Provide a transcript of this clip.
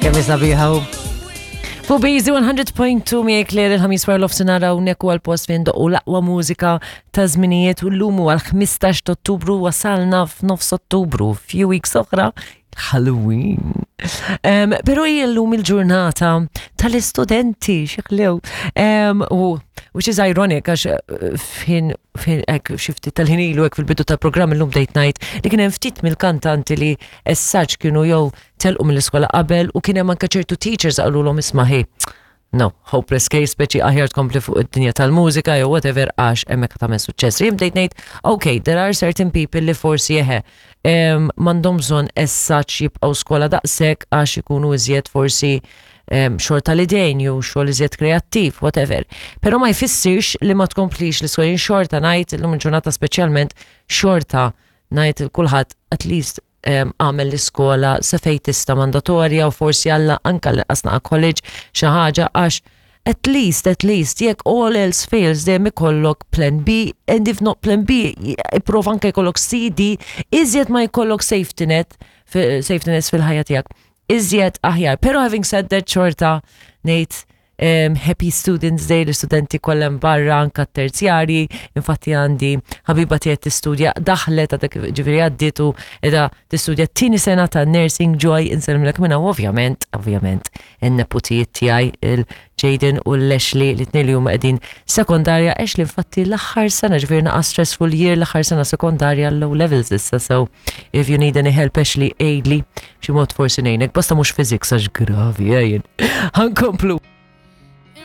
Kemm sabiħa u. Fuq Bizi 100.2 miegħek Claire il-ħamis wara l-ofsinhar hawnhekk huwa l-post fejn doqqu l-aqwa mużika ta' żminijiet u llum huwa l-15 ta' Ottubru wasalna f'nofs Ottubru, few weeks oħra Halloween. Um, pero hija llum il-ġurnata tal-istudenti, xeħlew. Um, u which is ironic għax eh, fin fin hekk xi ftit tal-ħin ilu hekk fil-bidu tal-programm illum bdejt ngħid li kien hemm ftit mill-kantanti li as such kienu jew telqu mill-iskola qabel u kien hemm anke ċertu teachers qalulhom isma' ħi. No, hopeless case, speċi aħjar tkompli fuq id-dinja tal-mużika jew whatever għax hemmhekk tagħmel suċċess. Jien bdejt ngħid, okay, there are certain people li forsi eħe m'għandhom bżonn as such jibqgħu skola daqshekk għax ikunu iżjed forsi xogħol tal-idejn jew xogħol iżjed kreattiv, whatever. Però ma jfissirx li ma tkomplix l-iskola jien xorta ngħid illum il-ġurnata speċjalment xorta ngħid il kulħadd at least għamel l-iskola sa fejn tista' mandatorja u forsi alla anka l-inqas naqa' college xi ħaġa għax at least, at least, jekk all else fails dejjem ikollok plan B and if not plan B, ipprova anke jkollok C, D, iżjed ma jkollok safety net, safety nets fil-ħajja tiegħek, iżjed aħjar. Pero having said that xorta ngħid um, Happy Students Day l-istudenti kollha barra anka terzjari, infatti għandi ħabiba tiegħi tistudja daħlet għadha ġifieri għaddiet u qiegħda tistudja t-tieni sena ta' Nursing Joy insellmilek minna u ovvjament, ovvjament, in-neputijiet tiegħi il-Jaden u l-Ashley li tnejn li huma qegħdin sekondarja, Ashley infatti l-aħħar sena ġifieri naqa' stressful year l-aħħar sena sekondarja l-O levels issa so if you need any help Ashley għidli b'xi mod forsi ngħinek basta mhux physics għax gravi eh, jien. Ħankomplu.